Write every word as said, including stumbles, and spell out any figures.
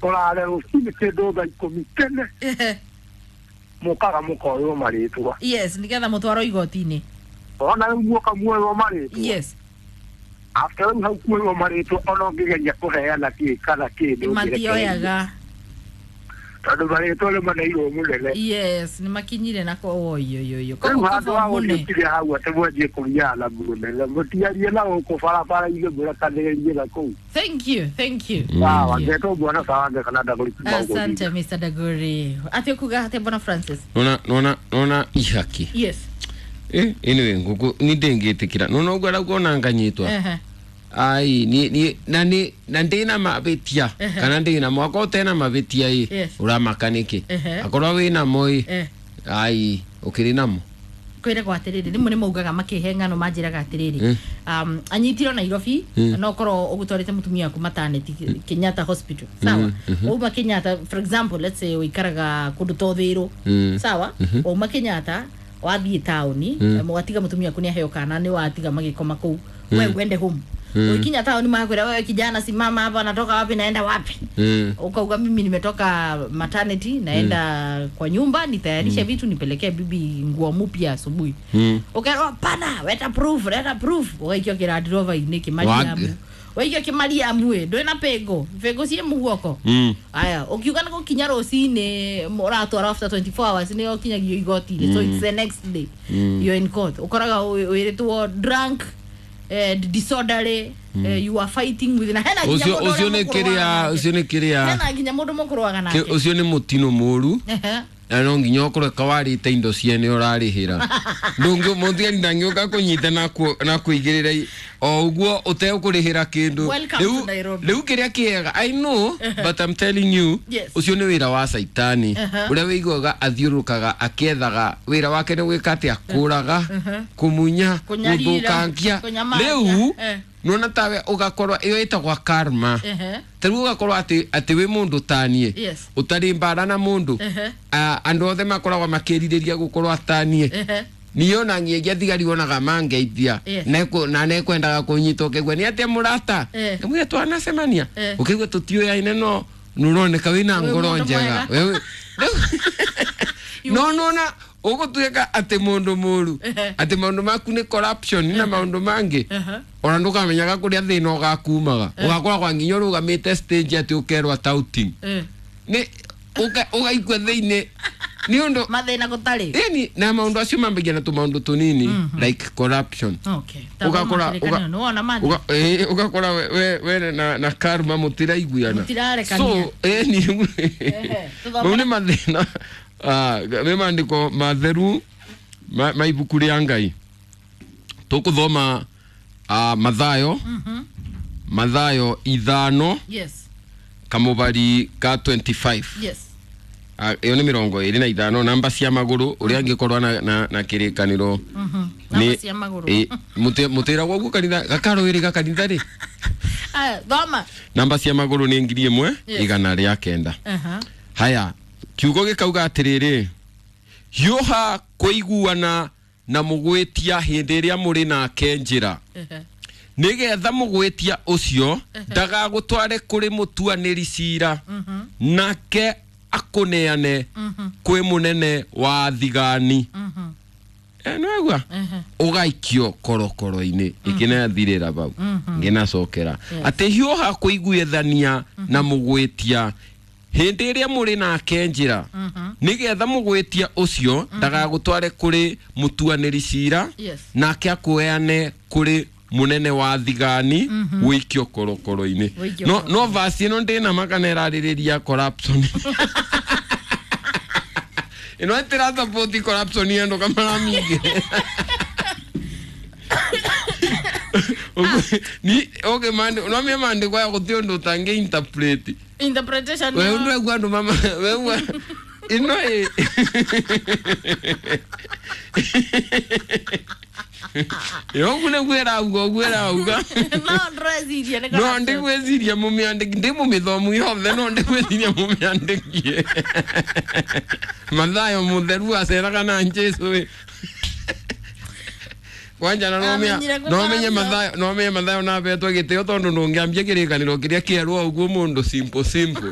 Tũrare rũcinĩ kĩndũ thaa ikũmi tene Ehe. mũkaga mũkoywo marĩtwa. Yes, nigetha mũtwarwo igoti-inĩ. Ona rĩu muoka muoywo marĩtwa. Yes. After rĩu hau kuoywo marĩtwa ona ũngĩgeria kũheana kĩ kana kĩ ndũngĩrekererio. Matioyaga. Tondũ marĩtwa nĩ maneirwo mũnene. Yes, nĩ makinyire na ko oyoyoyo. Rĩu handũ ha gũthiĩ ũkire hau atĩ mwanjie kũgiana na mũnene mũtiarie na gũkũ barabara-inĩ mũrekanĩrĩrie na kũu. Thank you, thank you. Sawa, Thank you. ngetwo bwana sawa kana Ndagũri kuma Asante Mister Dagori. Ati kuga ati Bwana Francis. Nona nona nona ihaki. Yes. Eh, anyway nguku ni ndingĩtĩkĩra nona ũguo arauga nganyitwa. Ehe. Ai ni ni na ni na ndina mabĩtia Ehe. kana ndina mwako tena mabĩtia ĩ Yes. ũramaka nĩkĩ Ehe. akorwo wĩna mo ĩ Eh. ai ũkĩrĩ namo Kwĩragwo atĩrĩrĩ rĩmwe nĩ maugaga makĩhe ng'ano manjĩraga atĩrĩrĩ Mm. um, anyitirwo Nairobi no korwo ũgũtwarĩte mũtumia waku maternity Kenyatta Hospital sawa wauma Kenyatta, for example, let's say ũikaraga kũndũ ta Ũthĩrũ Mm. sawa wauma Kenyatta wathiĩ taũni watiga mũtumia waku nĩ aheo kana nĩ watiga magĩkoma kũu we uende home ukinya taũni makwĩra wewe kijana simama hapa natoka wapi naenda wapi Mm. ukauga mimi nimetoka maternity naenda mm. kwa nyumba nitayarishe mm. vitu nipelekee bibi nguo mpya asubuhi Mm. ukerwa hapana weta proof leta proof ugaikio kirandirova-inĩ kĩmariamu waikio kĩmariamu ĩ ndwĩ na pengo pengo ciĩ mũguoko Mm. aya ukiuga nĩ gũkinya rũcinĩ ũratwara after twenty-four hours nĩ ũkinyagio igoti-inĩ so it's the next day mm. you're in court ũkoraga wĩrĩtwo drunk eh, disorderly mm. eh, you are fighting with na hena nginya Ũcio mũndũ ũcio ũrĩa nĩ mũkũrũaga kĩrĩa nake. ũcio nĩ kĩrĩa Hena nginya mũndũ mũkũrũaga kĩ- nake. ũcio nĩ mũtino mũru Ehe. na no nginya ũkorwo kawarĩte indo ciene ũrarĩhĩra ndũngĩ mũthigari ndangĩũka kũnyita na kũ- na kũigĩrĩra i- o ũguo ũtekũrĩhĩra kĩndũ Welcome Rĩu- to Nairobi. rĩu kĩrĩa kĩega I know but I'm telling you Yes. ũcio nĩ wĩra wa caitani Uh-huh. ũrĩa wĩiguaga athiũrũrũkaga akĩethaga wĩra wake nĩ gwĩka atĩa kũraga kũmunya Kũnyarira, gũthũkangia kũnyamaria. rĩu Eh. nona tawe ũgakorwo ĩyo ĩtagwa karma Ehe. ta rĩu ũgakorwo atĩ atĩ wĩ mũndũ taniĩ Yes. ũtarĩ mbara na mũndũ Ehe. Ah, andũ othe makoragwo makĩrirĩria gũkorwo ataniĩ Ehe. niĩ ona ngĩengia thigari wonaga mangeithia Yes. Neku- na nekwendaga kũnyita ũkĩgua nĩ atĩa mũrata Eh. ngamwĩra twanacemania Eh. ũkĩigua tũtiũyaine no nũroneka wĩna Wĩ ngoro mũndũ njega mwega. Wewe- Rĩu- no nona ũgũtuĩka atĩ mũndũ mũru Ehe. atĩ maũndũ maku nĩ corruption na maũndũ mangĩ Ehe. ona ndũkamenyaga kũrĩa thĩna ũgakumaga ũgakoragwa nginya ũrũgamĩte stage atĩ ũkerwo touting Eh. nĩ ũka- ũgaikua thĩinĩ nĩ ũndũ Mathĩna gũtarĩ. yani na maũndũ acio mambagia na tũmaũndũ tũnini like corruption Okay. Ũgakora- ũga- Nĩwona mathĩ. Uga- eh, ũgakora we, we, we na, na karma mũtiraiguana Mũtirarekania. so eh, ni Ehe, tũthomere. mau nĩ mathĩna ah, nĩ maandĩko matheru ma, ma ibuku rĩa Ngai tũkũthoma ah, Mathayo Mathayo ithano Yes. kamũbari ka twenty-five Yes. Ah, ĩyo nĩ mĩrongo ĩrĩ na ithano namba cia magũrũ ũrĩa angĩkorwo na, na, na kĩrĩkanĩro Mhm. Namba cia magũrũ. ĩ, mũtĩ- mũtĩragwo ũguo kanitha gakarũĩrĩ gakanitha rĩ Aya, thoma. namba cia magũrũ nĩ ngiri ĩmwe Yes. igana rĩa kenda Aha. haya kiugo gĩkauga atĩrĩrĩ hiũha kũiguana na mũgwĩtia hĩndĩ ĩrĩa mũrĩ nake njĩra Ehe. nĩgetha mũgwĩtia ũcio ndagagũtware kũrĩ mũtuanĩri cira nake akũneane kwĩ mũnene wa thigani Eh, nĩwaigua ũgaikio korokoro-inĩ ĩkĩnathirĩra bau ngĩnacokera atĩ hiũha kũiguithania na mũgwĩtia hĩndĩ ĩrĩa mũrĩ nake njĩra nĩgetha mũgwĩtia ũcio ndagagũtware kũrĩ mũtuanĩri cira Yes. nake akũheane kũrĩ mũnene wa thigani wĩikio korokoro-inĩ Wĩikio no, no vasi ĩno ndĩna makana ĩrarĩrĩria corruption ĩno ĩtĩra support corruption endo kamaramingĩ ni okay mande no me mande kwa gũtirĩ ũndũ ũtangĩ interpret Interpretation. we yo. ũndũ egua andũ mama we ĩno ĩ Yogu nĩguo ĩrauga ũguo ĩrauga No ndĩreciria nĩ no corruption. ndigwĩciria mũmĩandĩki ndĩ mũmĩthomu yothe no ndigwĩciria mũmĩandĩkie Mathayo mũtheru aceraga na Jesũ ĩ Kwanja na nomenya Amenyire gũkora nomenye biũ. Mathayo, nomenye Mathayo na betwo gĩtĩo tondũ ndũngĩambia kĩrĩkanĩro kĩrĩa kĩerũ o ũguo mũndũ simple simple.